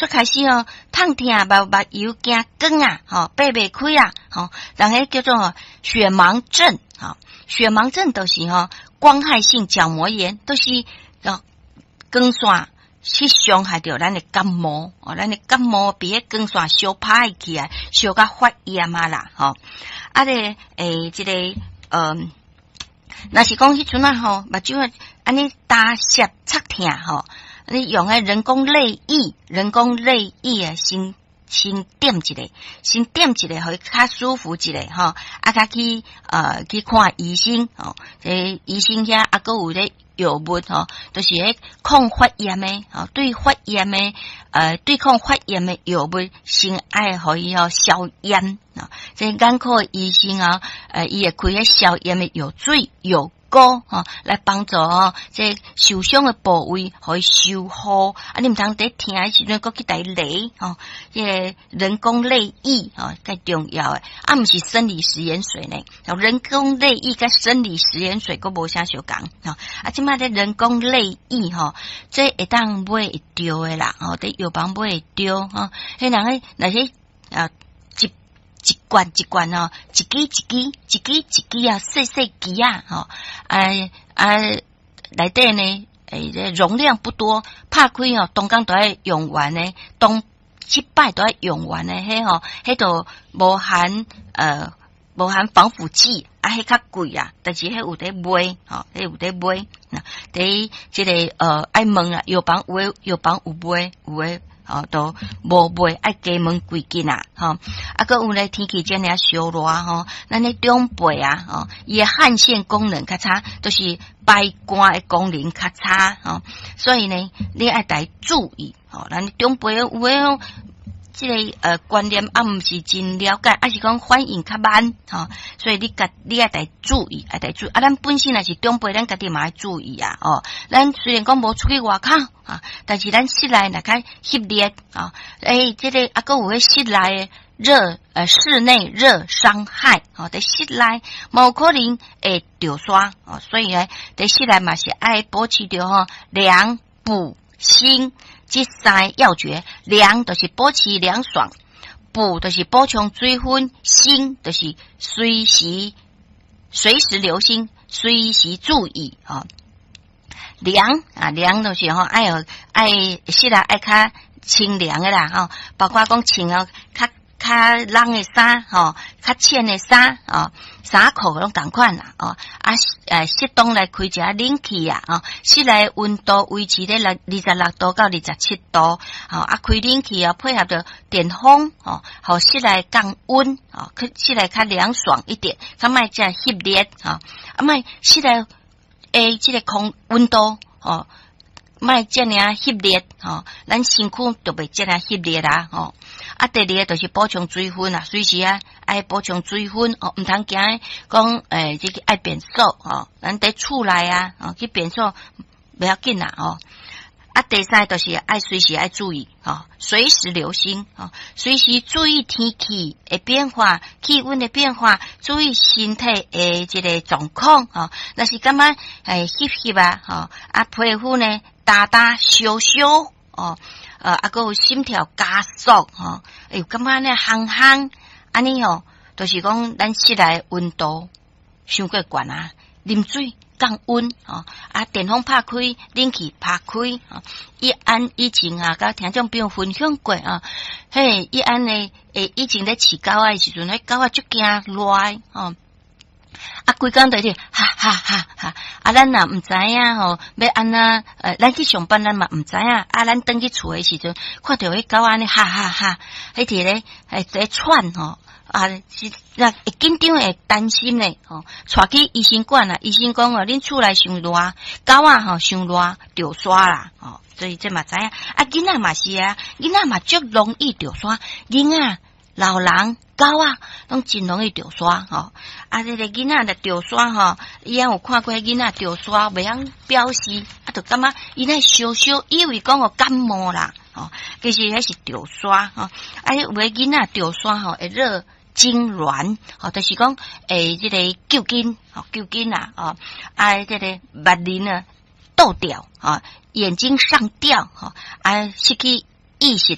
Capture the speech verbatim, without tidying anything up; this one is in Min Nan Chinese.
煞開始哦，燙疼目目油驚光啊，吼，擘袂開啊，吼，人彼叫做雪盲症，吼，雪盲症就是吼光害性角膜炎，都是哦光線去傷害著咱的角膜，哦，咱的角膜被彼光線燒歹起來，燒甲發炎啊啦，吼，啊咧，欸，這個，嗯。若是講彼陣啊吼，目睭按呢焦澀刺疼吼，你用彼人工淚液，人工淚液啊，先先點一下，先點一下，予伊較舒服一下吼，啊，較去呃去看醫生吼，這醫生遐啊，閣有咧藥物吼，就是彼抗發炎的吼，對發炎的呃對抗發炎的藥物，先愛予伊吼消炎啊。這眼科醫生啊，呃，伊會開彼消炎的藥水、藥膏吼，來幫助吼這受傷的部位，予伊修復。啊，你毋通佇疼的時陣，閣去共伊雷吼，這個人工淚液吼，較重要的。啊，毋是生理食鹽水呢。人工淚液佮生理食鹽水閣無啥相仝吼。啊，這擺這人工淚液吼，這會當買會著的啦，吼，佇藥房買會著吼。彼人彼若是啊。一罐一罐哦，一支一支，一支一支啊，細細支啊，吼，啊啊，內底呢，欸，這容量不多，拍開哦，當工都愛用完呢，當一擺都愛用完呢，彼吼，彼都無含呃，無含防腐劑，啊，彼較貴啊，但是彼有佇賣，吼，彼有佇賣，佇這個呃，愛問啊，藥房有的藥房有賣，有的。吼，都無賣，愛加問幾句啊，吼，啊，閣有咧天氣遮爾燒熱吼，咱的長輩啊，吼，伊的汗腺功能較差，就是排汗的功能較差，吼，所以呢，你愛來注意，吼，咱長輩有的這個呃觀念啊，毋是真了解，抑是講反應較慢，吼，所以你家你愛來注意，愛來注意。啊，咱本身若是長輩，咱家己嘛愛注意啊，哦，咱雖然講無出去外口啊，但是咱室內若較翕熱啊，欸，這個啊，閣有彼室內熱呃室內熱傷害，吼，佇室內嘛有可能會著沙，哦，所以呢，佇室內嘛是愛保持著吼涼補鋅。這三個要訣，涼就是保持涼爽，補就是補充水分，鋅就是隨時隨時留心，隨時注意啊。涼啊，涼就是吼，愛有愛室內愛較清涼的啦，吼，包括講穿哦，較較冷的衫吼，較淺的衫哦，衫褲攏仝款啦，哦，啊，呃，適當來開一下冷氣啊，哦，室內溫度維持咧六二十六度到二十七度，哦，啊，開冷氣啊，配合著電風，哦，予室內降溫，哦，去室內較涼爽一點，較莫遮翕熱，吼，啊，莫室內的這個空溫度，哦，莫遮爾翕熱，吼，咱身軀就袂遮爾翕熱啦，吼。啊，第二个就是補充水分啊，隨時啊愛補充水分哦，毋通驚講欸，這個愛便所吼，咱佇厝內啊，哦去便所袂要緊啦，吼。啊，第三就是愛隨時愛注意，吼，隨時留心，吼，隨時注意天氣的變化、氣溫的變化，注意身體的這個狀況，吼。若是感覺欸翕翕啊，吼，啊皮膚呢焦焦燒燒，哦，呃，啊閣有心跳加速，吼，欸有感覺呢烘烘，按呢吼，就是講咱室內溫度傷過懸啊，啉水降溫，吼，啊電風拍開，冷氣拍開，吼，伊按以前啊，佮聽眾朋友分享過啊，嘿，伊按呢，欸以前咧飼狗仔的時陣，彼狗仔足驚熱，吼。啊，規工佇咧哈哈哈哈！啊，咱若毋知影吼，欲按怎？呃，咱去上班，咱嘛毋知影。啊，咱轉去厝的時陣，看著彼狗按呢哈哈哈，彼佇咧欸佇喘吼，啊，是那會緊張會擔心咧吼，帶去醫生館啊，醫生講哦，恁厝內傷熱，狗仔吼傷熱，著沙啦，吼，所以這嘛知影。啊，囡仔嘛是啊，囡仔嘛足容易著沙，囡仔、老人、狗仔攏真容易著沙吼。啊，這個囡仔若著沙吼，伊也有看過囡仔著沙，袂曉表示，啊，就感覺伊咧燒燒，以為講哦感冒啦，吼，其實彼是著沙吼。啊，有的囡仔著沙吼會熱痙攣，吼，就是講會這個揪筋，吼，揪筋啊，吼，啊，這個目仁啊倒吊，吼，眼睛上吊，吼，啊，失去意識。